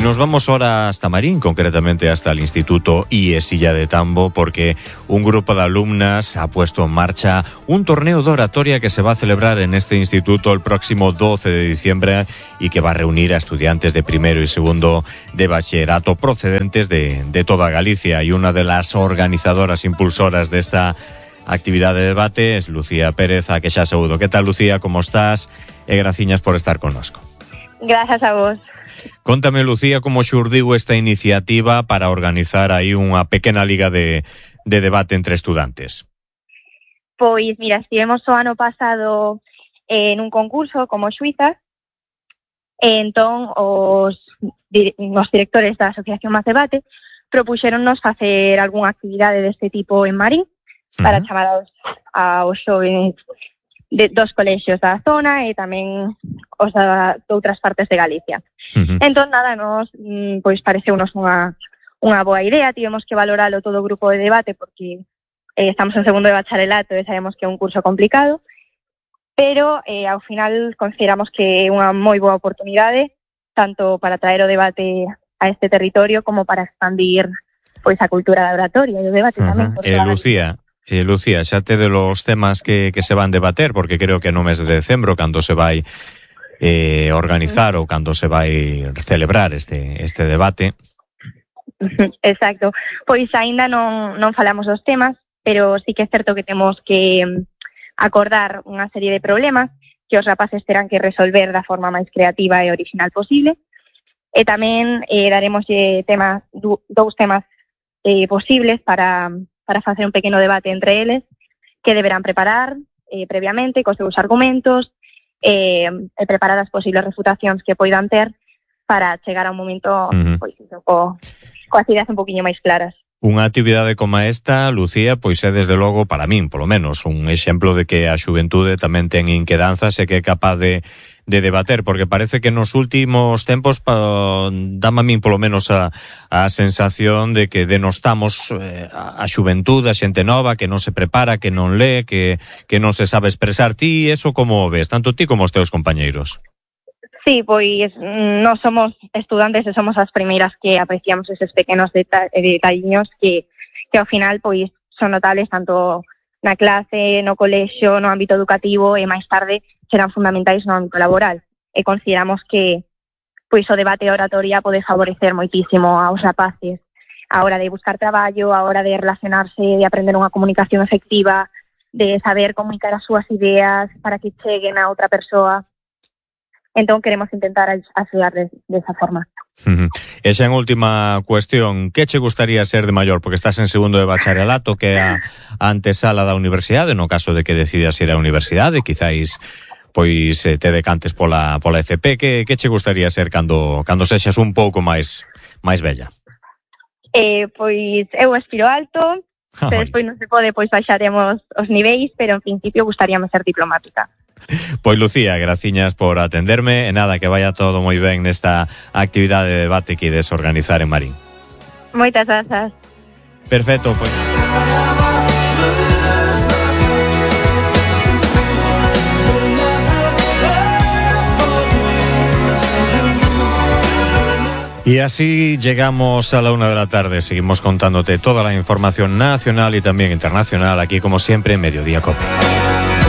nos vamos ahora hasta Marín, concretamente hasta el Instituto IESilla de Tambo, porque un grupo de alumnas ha puesto en marcha un torneo de oratoria que se va a celebrar en este instituto el próximo 12 de diciembre y que va a reunir a estudiantes de primero y segundo de bachillerato procedentes de toda Galicia. Y una de las organizadoras impulsoras de esta actividad de debate es Lucía Pérez, a que xa saúdo. Que tal, Lucía? Como estás? E graciñas por estar connosco. Gracias a vos. Contame, Lucía, como xurdiu esta iniciativa para organizar aí unha pequena liga de debate entre estudantes. Pois, mira, estivemos o ano pasado en un concurso como xuizas, e entón os directores da Asociación Más Debate propuxéronnos facer algunha actividade deste tipo en Marín para chamar aos xóvenes dos colexios da zona e tamén os de outras partes de Galicia. Entón, nada, nos pois pareceunos unha boa idea. Tivemos que valoralo todo o grupo de debate porque estamos en segundo de bacharelato e sabemos que é un curso complicado, pero ao final consideramos que é unha moi boa oportunidade tanto para traer o debate a este territorio como para expandir pois a cultura da oratoria e o debate tamén. Lucía, xa te de los temas que se van debater, porque creo que no mes de decembro, cando se vai organizar ou cando se vai celebrar este debate. Exacto. Pois aínda non falamos dos temas, pero sí que é certo que temos que acordar unha serie de problemas que os rapaces terán que resolver da forma máis creativa e original posible. E tamén daremos dous temas posibles para facer un pequeno debate entre eles, que deberán preparar previamente cos seus argumentos e preparar as posibles refutacións que poidan ter para chegar a un momento pois, coas ideas un poquinho máis claras. Unha actividade como esta, Lucía, pois é desde logo, para min, polo menos, un exemplo de que a xuventude tamén ten inquedanzas e que é capaz de debater, porque parece que nos últimos tempos dame a min polo menos a sensación de que denostamos a xuventude, a xente nova que non se prepara, que non lee, que non se sabe expresar. Ti eso como ves, tanto ti como os teus compañeiros? Sí, pois nós somos estudantes e somos as primeiras que apreciamos eses pequenos detalliños que ao final pois son notables tanto na clase, no colexio, no ámbito educativo e máis tarde serán fundamentais no ámbito laboral. E consideramos que pois o debate e a oratoria pode favorecer moitísimo aos rapaces a hora de buscar traballo, a hora de relacionarse, de aprender unha comunicación efectiva, de saber comunicar as súas ideas para que cheguen a outra persoa. Entón queremos intentar axudarles desa forma. E xa en última cuestión, que che gustaría ser de maior? Porque estás en segundo de bacharelato, que é a antesala da universidade, no caso de que decidas ir á universidade, quizáis pois te decantes pola FP. Que che gustaría ser cando sexas un pouco máis bella? Pois eu aspiro alto, pero despois non se pode, pois baixaremos os niveis, pero en principio gustaríame ser diplomática. Pois Lucía, graciñas por atenderme e nada, que vaya todo moi ben nesta actividade de debate que ides organizar en Marín. Moitas grazas. Perfecto, pois. Y así llegamos a la 1 de la tarde. Seguimos contándote toda la información nacional y también internacional aquí, como siempre, en Mediodía Cope.